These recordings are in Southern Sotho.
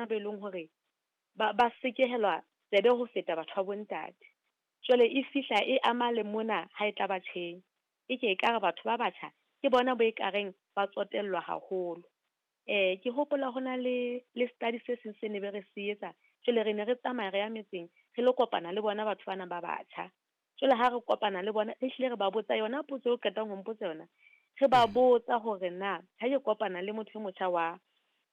ba e leng hore ba sekehelwa tsebe ho feta batho ba bontate. Jwale e fihla e ama le mona ha e tla batjheng. E ke ekare batho ba batjha ke bona bo ekareng ba tsotellwa haholo. Ke hopola ho na le study se seng se ne be re se etsa. Jwale re ne re tsamaya re ya metseng re lo kopana le bona batho bana ba batjha. Jwale ha re kopana le bona, re hlile re ba botsa yona potso eo qetang ho mpotsa yona. Re ba botsa hore na ha ke kopana le motho e motjha wa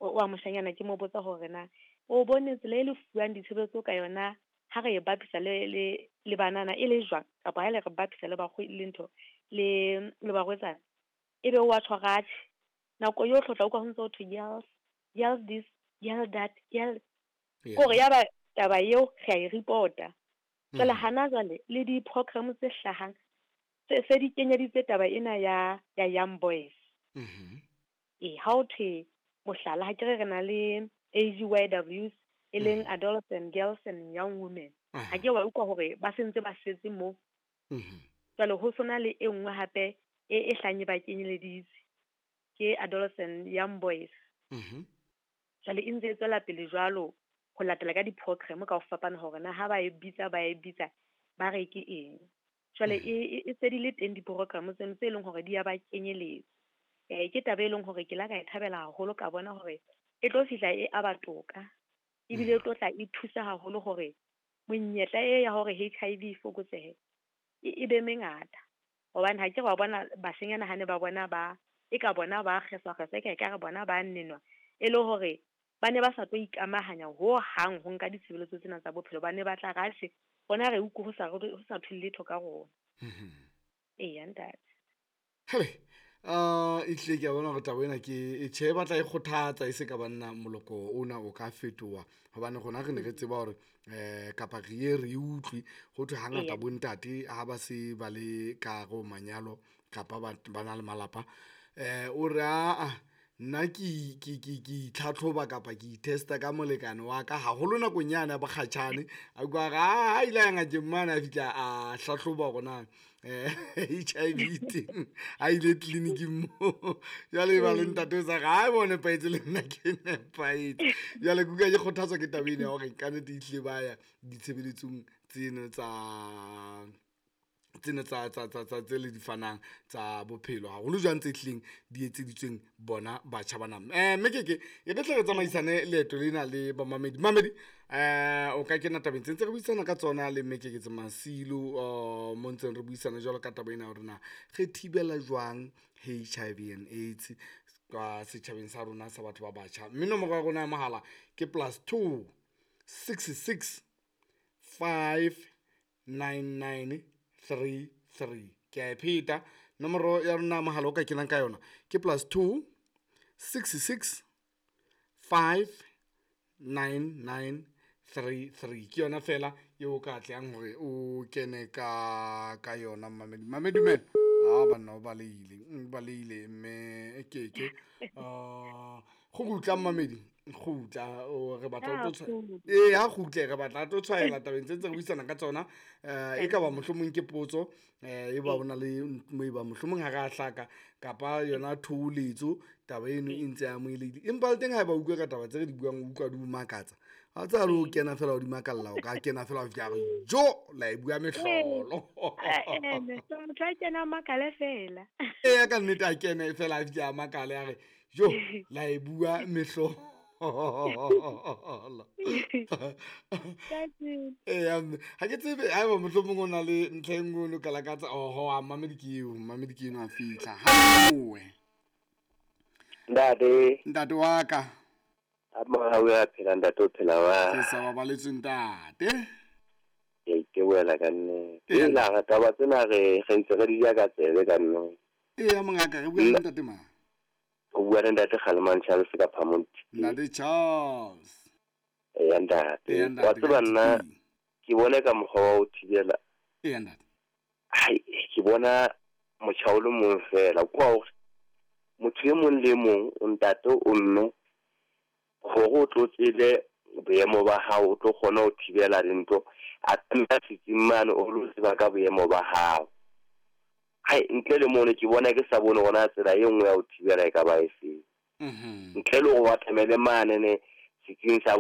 moshanyana, ke mo botsa hore na o bone tsela e le fuwang ditshebeletso ka yona ha re e bapisa le banana e le jwang, kapa ha le re bapisa le le ntho le barwetsana, ebe wa tjho atjhe. Nako yohle o tla utlwa ho ntso ho thwe girls, girls this, girl that, girl. Kore ya ba taba eo re a e report-a. Jwale hana jwale le di-program tse hlahang se di kenyeditse taba ena ya young boys. Ha o thwe mohlala, ha ke re na le AGYWs e leng adolescent girls and young women. Ha ke wa utlwa hore ba sentse ba setse mo. Jwale ho sona le e nngwe hape e hlanye ba kenyeleditse ke adolescent young boys. Jwale e ntse e tswela pele jwalo ho latela ka di-program ka ho fapana hore na ha ba e bitsa ba re ke eng. Jwale e se di le teng di-program tseno tse leng hore di ya ba kenyeletsa. Ke taba e leng hore ke la ka e thabela haholo, ka bona hore e tlo fihla e aba toka, ebile e tlo tla e thusa haholo hore monyetla e ya hore HIV e fokotsehe e be mengata. Hobane ha ke re wa bona bashenyana ha ne ba bona ba e ka bona ba kgeswa e ka re bona ba nenwa, e le hore ba ne ba sa tlo ikamahanya ho hang ho nka ditshebeletso tsena tsa bophelo. Ba ne ba tla re atjhe bona re utlwe ho sa thwe letho ka rona. Eya ntate. Hele, ehlile ke a bona hore taba ena ke e tjhe, e batla e kgothatsa e se ka banna moloko ona o ka fetoha, hobane rona re ne re tseba hore kapa re ye re utlwe ho thwe hangata bontate ha ba se ba le ka hare ho manyalo kapa ba na le malapa, o re aa nna ke itlhatlhoba kapa ke itesta ka molekane wa ka haholo nakong yane ya bokgatjhane. A utlwa re a ile a ngakeng mane, a fihla a hlahloba hore na HIV teng, a ile tleliniking moo. Jwale e ba le ntate o sa re ha bo nepahetse le nna ke nepahetse. Jwale ke utlwa ke kgothatswa ke taba ena ya hore kannete ehlile ba ya ditshebeletsong tseno tsa tsena tsa tse le di fanang tsa bophelo haholo jwang tse hlileng di etseditsweng bona batjha bana. Mme ke e re tle re tsamaisane leeto lena le bamamedi. Mamedi, o ka kena tabeng tse ntse re buisana ka tsona le mme Keketso Masilo, mo ntseng re buisana jwalo ka taba ena hore na re thibela jwang HIV and AIDS ka setjhabeng sa rona sa batho ba batjha. Mme nomoro ya rona ya mohala ke +2 66 5 99 3 3. Ke a e pheta nomoro ya rona mohala o ka kenang ka yona ke +2 66 5 99 3 3. Ke yona fela eo ka atleang hore o kene ka yona. Mamedi, mamedi dumela. A banna o baleile mme Keke. Go kgutla mamedi, kgutla o re batla o tlo ha kgutle re batla tlo tshwaela tabeng tse ntse re buisana ka tsona. E ka ba mohlomong ke potso, e ba ona le mo e ba mohlomong ha re a hlaka kapa yona thoholetso, taba eno e ntse amohelehile. Empa le teng ha ba utlwe ka taba tse re di buang, o utlwa di o makatsa. Ha tsa le o kena fela o di makalla, o ka kena fela o fihla re jo la e bua mehlolo. Motho a kena makale fela. Eya ka nnete a kene fela a fihla a makale a re jo la e bua mehlolo. Eya ha ke tsebe haeba mohlomong o na le ntlha e nngwe o no ka lakatsa. Oho, a mamedi ke eo, mamedi ke eno a fihla. Haowe ntate, ntate wa ka. A mohau ya phela ntate, o phela wa. Ke sa babaletswe ntate. Ke boela ka nne. Ke la re taba tsena re ntse re di ja ka tsebe ka nne. Eya mongaka, re bua le ntate mang? O bua le ntate Kgalemang Charles ka Phamong. Ntate Charles. Eya ntate. Wa tseba nna ke bone ka mokgwa wa ho thibela. Eya ntate. Hai, ke bona motjha o le mong fela. Kwa hore motho e mong le mong, o ntate o mme, hore o tlo tsebe boemo ba hao, o tlo kgona ho thibela dintho. A tlameha setsing mane o lo tseba ka boemo ba hao. Hai, ntle le mono ke bona ke sa bone hore tsela e nngwe ya ho thibela e ka ba e feng. Ntle le hore o atamele mane ne setsing sa